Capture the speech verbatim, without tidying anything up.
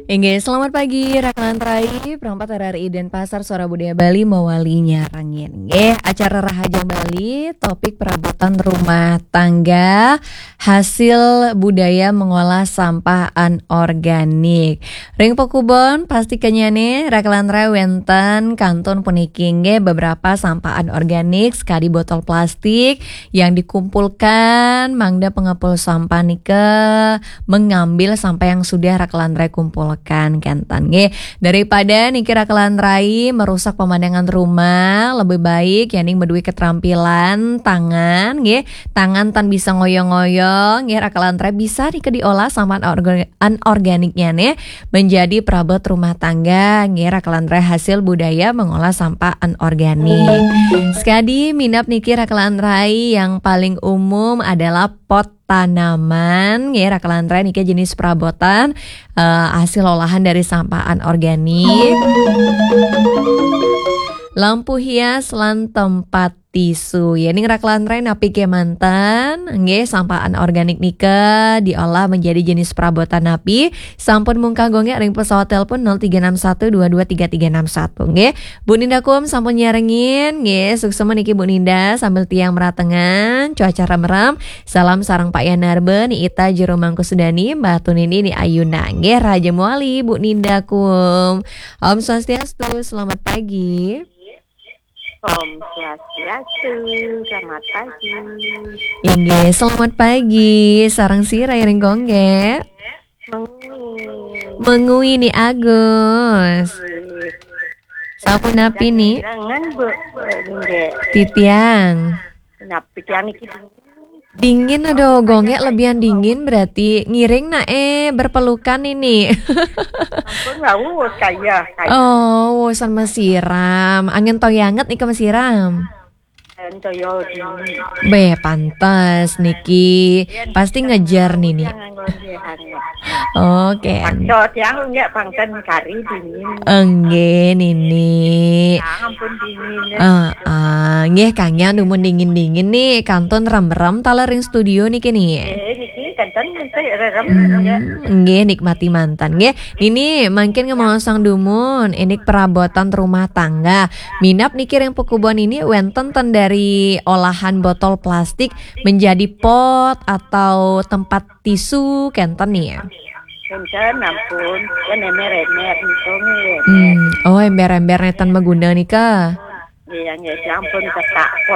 Inggih, selamat pagi, Rakan Rai, perempat R R I Denpasar, Suara Budaya Bali, mawali nyarengin. Nggih, acara Rahajeng Bali, topik perabotan rumah tangga, hasil budaya mengolah sampah anorganik. Ring pakubon, pasti kenyane, Rakan Rai, wenten kantun puniki, nggih, beberapa sampah anorganik, sekadi botol plastik yang dikumpulkan, mangda pengepul sampah nika mengambil sampah yang sudah Rakan Rai kumpulkan, kenten, nggih. Daripada niki Rakan Rai merusak pemandangan rumah, lebih baik yening madue keterampilan tangan, nggih. Tangan tan bisa ngoyong-ngoyong, nggih, Rakan Rai, bisa nika diolah sampah anorga-, anorganiknyane menjadi perabot rumah tangga, nggih, Rakan Rai, hasil budaya mengolah sampah anorganik. Sekadi minab niki Rakan Rai, yang paling umum adalah pot tanaman, nggih, Rakan Rai, niki jenis perabotan, eh, hasil olahan dari sampah anorganik. Lampu hias lan tempat tisu. Yening Rakan Rai napi kemanten, nggih, sampah anorganik nika diolah menjadi jenis perabotan napi, sampun mungkah gongek ring pesawat telepon nol tiga enam satu dua dua tiga tiga enam satu, nggih. Bu Ninda Kum sampun nyarengin, nggih, suksma niki Bu Ninda, sambil tiang meratengan, cuaca remrem. Salam sareng Pak Yanarba, Ni Ita, Jero Mangku Sudani, Mbah Tunini, Ni Ayuna, nggih, Raja Muali, Bu Ninda Kum. Om Swastiastu, selamat pagi. Om Swastiastu, selamat pagi. Inggih, selamat pagi. Sareng sira ring gongge. Mengui. Mengui Ni Agus. Sapunapi Ni? Jangan, Bu. Nggih. Titiang. Napi tiang niki? Dingin, aduh, gongek lebihan dingin berarti. Ngiring nak, eh, berpelukan ini. Ampun, wau, kaya, kaya. Oh, wusan masiram. Angin toyanget nika masiram. Angin toya dingin. Be, pantes niki. Pasti ngejar nini. Jangan ngombe hangat. Oke. Paksa tiang nggih pangten kari dingin. Enggih, Nini. Tiang ampun dingin. Ah, ah. Nggih, kangge dumun dingin-dingin nih, kantun rem-rem taler ring studio niki nih. Eh, niki kenten nggih rerem, Hmm, nggih. Nggih, nikmati manten, nggih. Nini, mangkin ngemaosang dumun, indik perabotan rumah tangga. Minab niki ring pakubon ini wenten ten dari olahan botol plastik menjadi pot atau tempat tisu, kenten nih ya? Kenten, ampun, kan emer-emer niku nggih. Hmm, oh, ember-ember neten maguna nika. Iya, nggih, sampun ketak.